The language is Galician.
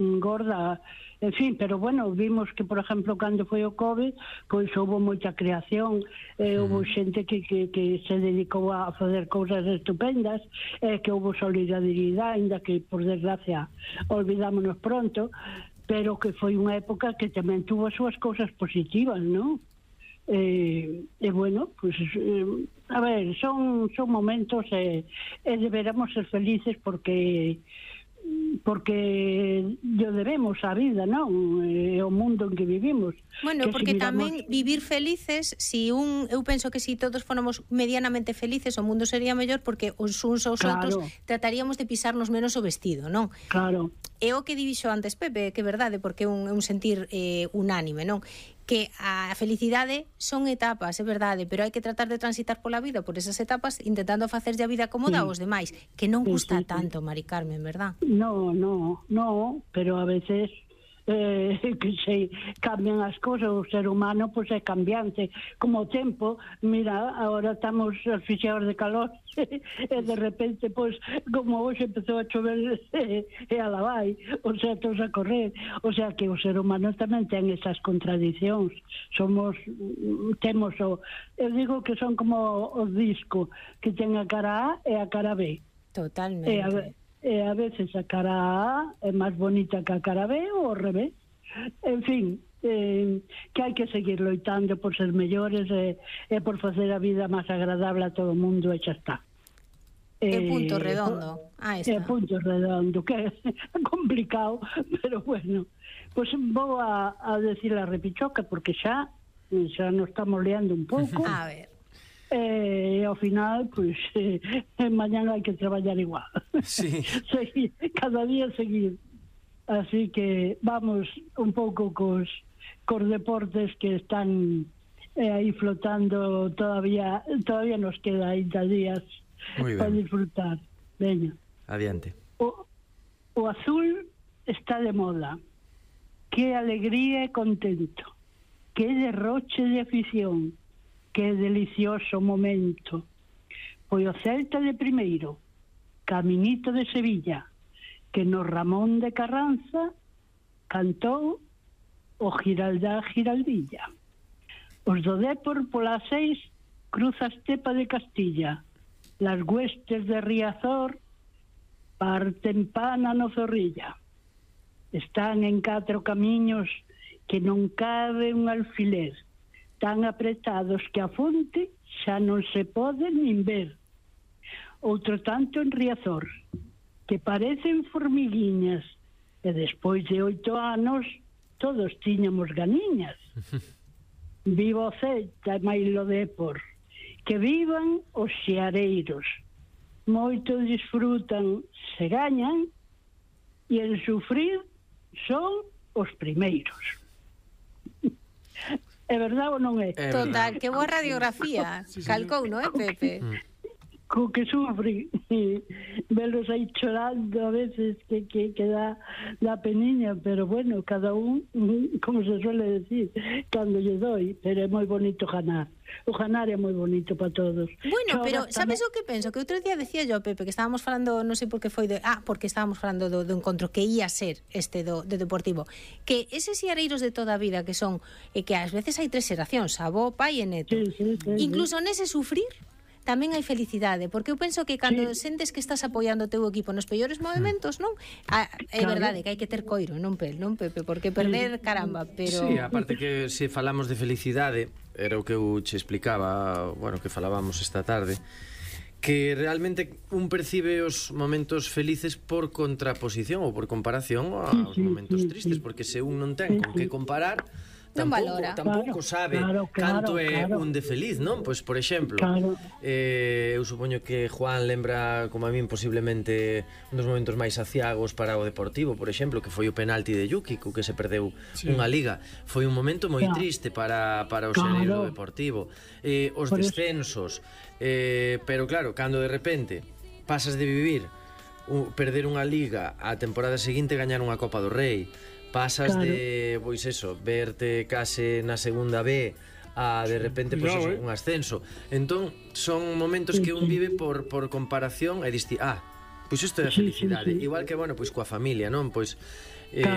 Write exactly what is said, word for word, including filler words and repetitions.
gorda, en fin, pero bueno, vimos que, por exemplo, cando foi o COVID, pois houve moita creación, eh, mm. houve xente que, que, que se dedicou a facer cousas estupendas, eh, que houve solidaridade, ainda que, por desgracia, olvidámonos pronto, pero que foi unha época que tamén tuvo as súas cousas positivas, non? E, e bueno, pues eh, a ver, son son momentos e, e deberamos ser felices porque porque yo debemos a vida, non? E o mundo en que vivimos. Bueno, que porque si miramos... tamén vivir felices, si un, eu penso que si todos fóramos medianamente felices, o mundo sería mellor porque os uns aos claro. outros trataríamos de pisarnos menos o vestido, non? Claro. É o que dixo antes Pepe, que é verdade, porque é un, un sentir eh, unánime, non? Que a felicidade son etapas, é verdade, pero hai que tratar de transitar pola vida por esas etapas intentando facerlle a vida cómoda sí. aos demais, que non custa sí, sí, tanto, Mari Carmen, verdad? No, no, no, pero a veces eh, que se cambian as cousas, o ser humano pois é cambiante, como o tempo, mira, agora estamos asfixiados de calor e de repente, pois, como hoxe empezou a chover e, e a la vai, o sea, todos a correr, o sea, que o ser humano tamén ten esas contradicións, somos, temos o, eu digo que son como o disco, que ten a cara A e a cara B. Totalmente. E a, e a veces a cara A é máis bonita que a cara B ou ao revés. En fin, eh, que hai que seguir loitando por ser mellores e, e por facer a vida máis agradable a todo o mundo e xa está. É eh, punto redondo. Ah, está. É punto redondo, que é complicado, pero bueno. Pois pues vou a, a decir a repichoca porque xa xa nos estamos liando un pouco. A ver. E ao final, pois, eh, mañán hai que traballar igual. Sí. Seguir, cada día seguir. Así que vamos un pouco cos, cos deportes que están eh, aí flotando todavía, todavía nos queda ainda días para disfrutar. Veña. Adiante. O, o azul está de moda. Que alegría e contento. Que derroche de afición. Que delicioso momento. Foi o Celta de primeiro, Caminito de Sevilla, que no Ramón de Carranza cantou o Giraldá Giraldilla. Os do Dépor polas seis cruza a estepa de Castilla, las huestes de Riazor parten pana no Zorrilla. Están en catro camiños que non cabe un alfiler, tan apretados que a fonte xa non se pode nin ver. Outro tanto en Riazor, que parecen formiguiñas, e despois de oito anos todos tiñamos ganiñas. Viva o Celta e mailo Dépor, que vivan os xeareiros. Moito disfrutan se gañan, e en sufrir son os primeiros. É verdade ou non é? É total, que boa radiografía. Sí, sí, calcou, non é, Pepe? Co que sufre, velos aí chorando a veces que, que, que dá, dá peniña, pero bueno, cada un, como se suele decir, cando lle doi, pero é moi bonito ganar. O ganar é moi bonito para todos. Bueno, pero sabes o que penso? Que outro día decía yo, Pepe, que estábamos falando, non sei por que foi de, ah, porque estábamos falando do, do encontro que ia ser este do, do Deportivo, que eses xareiros de toda a vida que son, e que ás veces hai tres xeracións, avó, pai e neto, sí, sí, sí, incluso sí. nese sufrir tamén hai felicidade, porque eu penso que cando sí. sentes que estás apoiando o teu equipo nos peores movimentos, non? Ah, é claro. Verdade que hai que ter coiro, non pel, non Pepe, porque perder, caramba, pero... Sí, aparte que se falamos de felicidade, era o que eu che explicaba, bueno, que falábamos esta tarde, que realmente un percibe os momentos felices por contraposición ou por comparación aos sí, sí, momentos sí, tristes, sí. Porque se un non ten sí, con que comparar, tampouco, tampouco sabe claro, claro, canto é claro. un de feliz, non? Pois, por exemplo, claro. eh, eu supoño que Juan lembra, como a min, posiblemente un dos momentos máis aciagos para o Deportivo, por exemplo, que foi o penalti de Yuki, co que se perdeu sí. unha liga. Foi un momento moi claro. triste para, para o claro. xereiro do Deportivo. Eh, os por descensos, eh, pero claro, cando de repente pasas de vivir un, perder unha liga a temporada seguinte gañar unha Copa do Rei, pasas claro. de, pois eso, verte case na segunda B a de repente pois eso, un ascenso. Entón, son momentos que un vive por, por comparación e diste, ah, pois isto é a felicidade. Sí, sí, sí. Igual que, bueno, pois coa familia, non? Pois